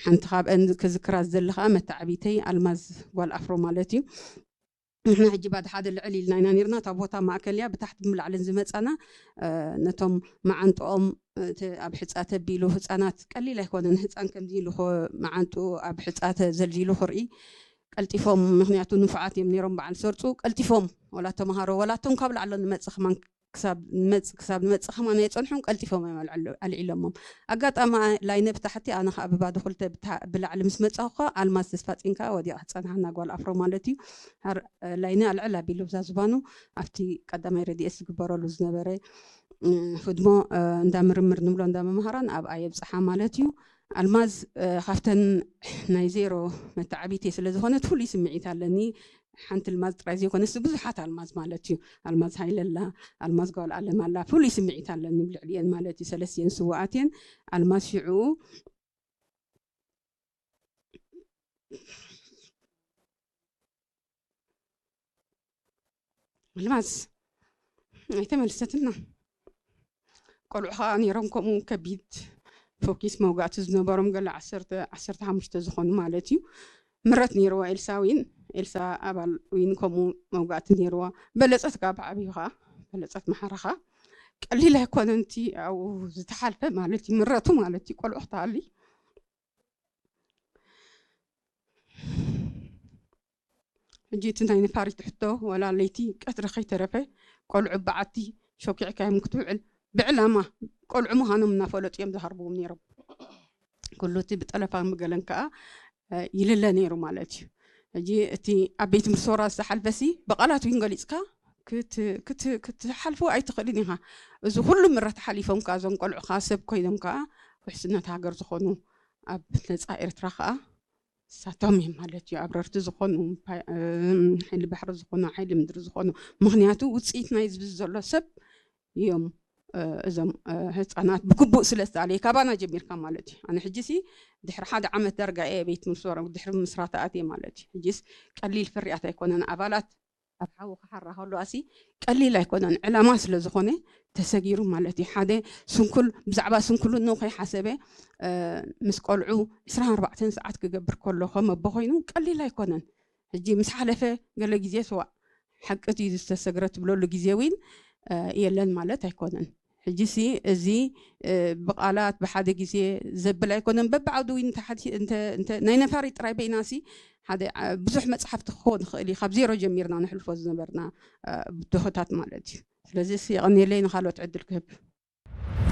ሓንቲ ካብአን ክዝክራ ዝደሊ ከዓ መተዓቢተይ ኣልማዝ ጓል ኣፍሮ ማለት እዩ። ንሕና ሕጂ ባድ ሓደ ልዕል ኢልና ኢና ነርና። እታ ቦታ ማእከል እያ። ብታሕቲ ብላዕልን ዝመጻና ነቶም መዓንጥኦም ኣብ ሕጻ ተቢሉ፣ ህጻናት ቀሊል ኣይኮነን። ህጻን ከምዚ ኢሉ መዓንጡ ኣብ ሕጻ ተዘልዚሉ ክርኢ ቀልጢፎም፣ ምክንያቱ ንፉዓት እዮም ነይሮም በዓል ሰርፁ። ቀልጢፎም ወላ ተምሃሮ ወላ እቶም ካብ ላዕሎ ንመፅእ ከማን ክሳብ ንመፅእ ክሳብ ንመፅእ ከማን ኣይፀንሑን፣ ቀልጢፎም እዮም ኣልዕሎ- ኣልዒሎሞም። ኣጋጣሚ ላይነ ብታሕቲ፣ ኣነ ከዓ ብባዶ ክልተ ብታ- ብላዕሊ ምስ መፃኹ ከዓ ኣልማዝ ተስፋ ፂንካ ወዲቓ ትፀንሓና ጓል ኣፍሮ ማለት እዩ። ሃር- ላይነ ኣልዕል ኣቢሉ ብዛ ዝባኑ ኣብቲ ቀዳማይ ረድኤት ዝግበረሉ ዝነበረ ህድሞ እንዳ ምርምር ንብሎ እንዳ መምሃራን ኣብኣ የብፅሓ ማለት እዩ። ኣልማዝ ካብተን ናይ ዜሮ መተዓቢተይ ስለ ዝኾነት ፍሉይ ስምዒት ኣለኒ። ሓንቲ ኣልማዝ ጥራይ ዘይኮነስ ብዙሓት ኣልማዝ ማለት እዩ። ኣልማዝ ሃይለላ፣ ኣልማዝ ጓል ኣለም ኣላ፣ ፍሉይ ስምዒት ኣለኒ ብልዕሊኤን ማለት እዩ። ሰለስቲኤን ስውኣት እየን። ኣልማዝ ሽዑ ኣልማዝ ኣይተመልሰትና። ቆልዑ ከዓ ነይሮም ከምኡ ከቢድ ፎኪስ መውጋእቲ ዝነበሮም ገለ ዓሰርተ ዓሰርተ ሓሙሽተ ዝኾኑ ማለት እዩ። ምረት ነይርዋ ኤልሳ ዊን፣ ኤልሳ ኣባል ዊን ከምኡ መውጋእቲ ነይርዋ። በለፀት ከዓ ብዓብዩ ከዓ በለፀት መሓራ ከዓ ቀሊል ኣይኮነን እቲ ኣብኡ ዝተሓልፈ ማለት እዩ። ምረቱ ማለት እዩ ቆልዑ ክተሃሊ ሕጂ እቲ ናይ ነፋሪት ሕቶ ወላ ለይቲ ቀትሪ ከይተረፈ ቆልዑ በዓቲ ሾኪዕካዮም ክትውዕል ብዕላማ ቆልዑ ምዃኖም እናፈለጡ እዮም ዝሃርብዎም ነይሮም። ኩሉ እቲ ብጠለፋ ምግለን ከዓ ይልለ ነይሩ ማለት እዩ። ሕጂ እቲ ኣብ ቤት ምርሶራ ዝተሓልፈሲ ብቓላት እውን ገሊፅካ ክትሓልፉ ኣይትኽእልን ኢኻ። እዚ ኩሉ ምረት ሓሊፎም ከዓ እዞም ቆልዑ ከዓ ሰብ ኮይኖም ከዓ ውሕስነት ሃገር ዝኾኑ ኣብ ነፃ ኤርትራ ከዓ ንሳቶም እዮም ማለት እዩ። ኣብረርቲ ዝኾኑ ሓይሊ ባሕሪ ዝኾኑ ሓይሊ ምድሪ ዝኾኑ ምክንያቱ ውፅኢት ናይ ዝብዚ ዘሎ ሰብ እዮም። እዞም ህፃናት ብግቡእ ስለ ዝተኣለየ ካባና ጀሚርካ ማለት እዩ። ኣነ ሕጂ ሲ ድሕሪ ሓደ ዓመት ዳርጋ እየ ቤት ምስራታ ኣትየ ማለት እዩ። ሕጂስ ቀሊል ፍርያት ኣይኮነን። ኣባላት ኣብ ሓዊ ክሓራ ከለዋ ሲ ቀሊል ኣይኮነን። ዕላማ ስለ ዝኾነ ተሰጊሩ ማለት እዩ። ሓደ ስንኩል ብዛዕባ ስንኩልንኡ ከይሓሰበ ምስ ቆልዑ ዕስራን ኣርባዕተን ሰዓት ክገብር ከሎ ከም ኣቦ ኮይኑ ቀሊል ኣይኮነን። ሕጂ ምስ ሓለፈ ገለ ግዜ ስዋእ ሓቂ እቲ ዝተሰግረ ትብለሉ ግዜ እውን የለን ማለት ኣይኮነን። ሕጂ ሲ እዚ ብቃላት ብሓደ ግዜ ዘብል ኣይኮነን። በብዓውዲ እውን ናይ ነፋሪት ጥራይ በይና ሲ ሓደ ብዙሕ መፅሓፍቲ ክኸውን ይኽእል እዩ። ካብ ዜሮ ጀሚርና ንሕልፎ ዝነበርና ብድሆታት ማለት እዩ። ስለዚ ሲ የቐንየለይ፣ ንካልኦት ዕድል ክህብ።